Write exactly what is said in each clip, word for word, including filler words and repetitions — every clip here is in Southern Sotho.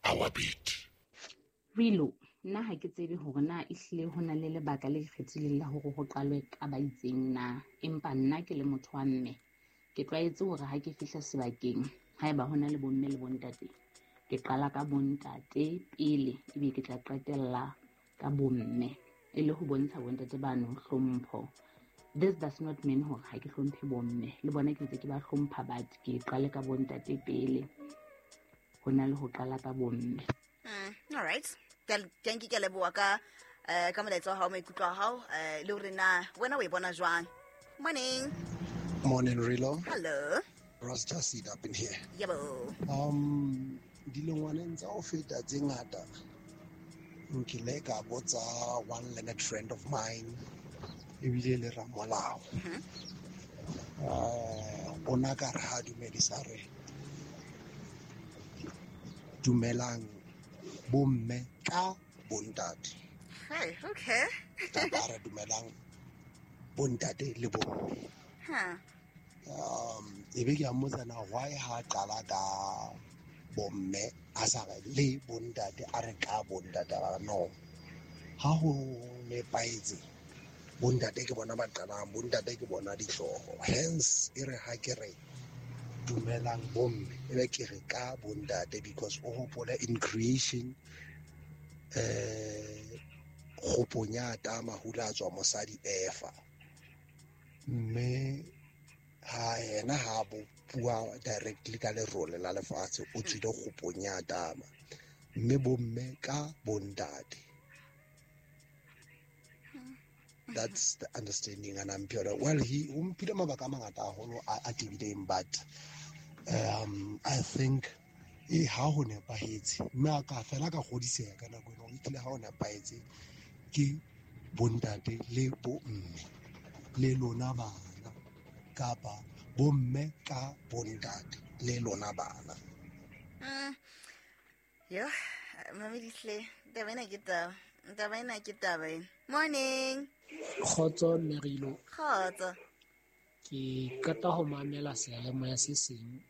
our beat. Rilo, nna ha ke tsebe hore na ehlile ho na le lebaka le ikgethileng la hore ho qalwe ka ba itseng na, empa nna ke le motho wa mme, ke tlwaetse hore ha ke fihla sebakeng, haeba ho na le bomme le bontate, ke qala ka bontate pele ebe ke tla qetella ka bomme, e le ho bontsha bontate bano hlompho. This does not mean hore ha ke hlomphe bomme, le bona ke ntse ke ba hlompha, but ke qale ka bontate pele ho na le ho qala ka bomme. Mm, all right. Thank you, ke leboha ka eh ka molaetsa wa hao, maikutlo a hao, eh le hore na wena o e bona jwang. Morning. Morning, Rilo. Hello. Rasta seat up in here. Yebo. Um, dilengwaneng tsa ho feta tse ngata, nkile ka botsa one learned friend of mine, ebile le ramolao. Mm-hmm. Uh, o na ka re ha dumedisa re, dumelang bomme ka bontate. Hey, okay. Kapa re dumelang bontate le bomme. Huh. Um, ebe ke a mmotsa na why ha qala ka bomme a sa re le bontate, a re ka bontate, a re no. Ha ho nepahetse, bontate ke bona ba qalang, bontate ke bona dihlooho. Hence e re ha ke re dumelang bomme, ebe ke re ka bontate, because o hopole in creation, eh, kgopong ya Adama ho la tswa mosadi Eva. Mme ha yena ha bo bua directly ka lerole la lefatshe, o tswile kgopong ya Adama. Mme bomme ka bontate. That's the understanding, and I'm pure. Well, he o mphile mabaka a mangata haholo a, a tebileng, but um, I think e ha ho nepahetse, mme a ka fela ka kgodiseha ka nako eno, e tlile ha ho nepahetse ke bontate le bomme le lona bana, kapa bomme ka bontate le lona bana. Mm. Yo, mamedi hle, taba ena ke taba, taba ena ke taba ena. Morning. Kgotso Merilo. Kgotso. Ke qeta ho mamela seyalemoya se seng,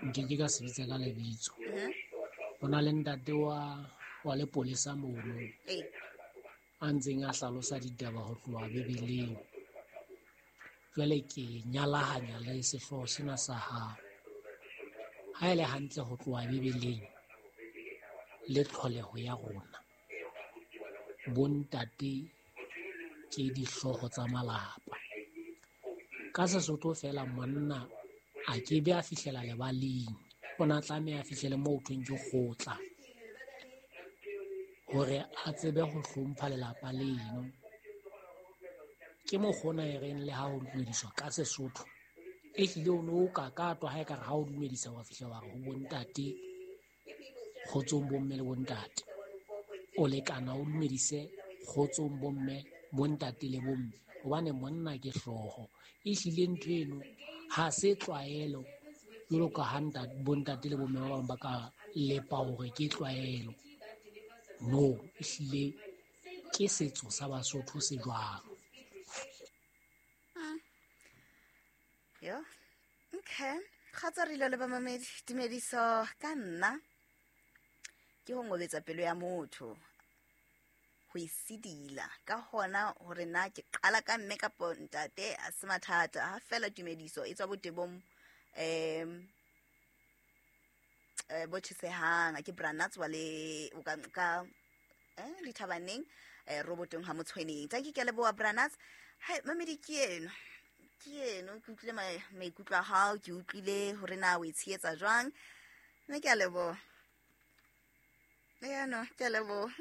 nke ke ka se bitsa ka lebitso. Mm-hmm. Ho na le ntate wa, wa lepolesa mono. Ee. A ntseng a hlalosa ditaba ho tloha Bibeleng. Jwale ke nyalahanya le sehlooho sena sa hao. Ha e le hantle ho tloha Bibeleng le tlholeho ya rona, bontate ke dihlooho tsa malapa. Ka Sesotho feela, monna a ke be a fihlela lebaleng, o na tlameha a fihlele moo ho thweng ke kgotla, hore a tsebe ho hlompha lelapa leno. Ke mokgwa ona e reng le ha ho dumediswa ka Sesotho, ehlile o no ka katwa ha ekare ha o dumedisa wa fihla wa re ho bontate, kgotsong bomme le bontate. O lekana o dumedise kgotsong bomme, bontate le bomme, hobane monna ke hlooho. Ehlile ntho eno ha se tlwaelo, jwalo ka ha ntate, bontate le bomme ba bang ba ka lepa hore ke tlwaelo. No, ehlile ke setso sa Basotho se jwalo. Mm. Yo, okay. Kgotso re ile le bamamedi, tumediso ka nna ke ho ngobetsa pelo ya motho, ho e sidila. Ka hona hore na ke qala ka mme kapa ntate, a se mathata. Ha fela tumediso e tswa botebong, em, eh, bo tjhesehang. Ke Branats wa le, o ka, ka, eh, dithabaneng, eh, robotong ha Motshweneng. Thank you, ke a leboha Branats. Hai, mamedi ke eno. Ke eno, ke utlwile ma-, maikutlo a hao, ke utlwile hore na o e tshehetsa jwang. Mme ke a leboha. Ya no, ke a leboha.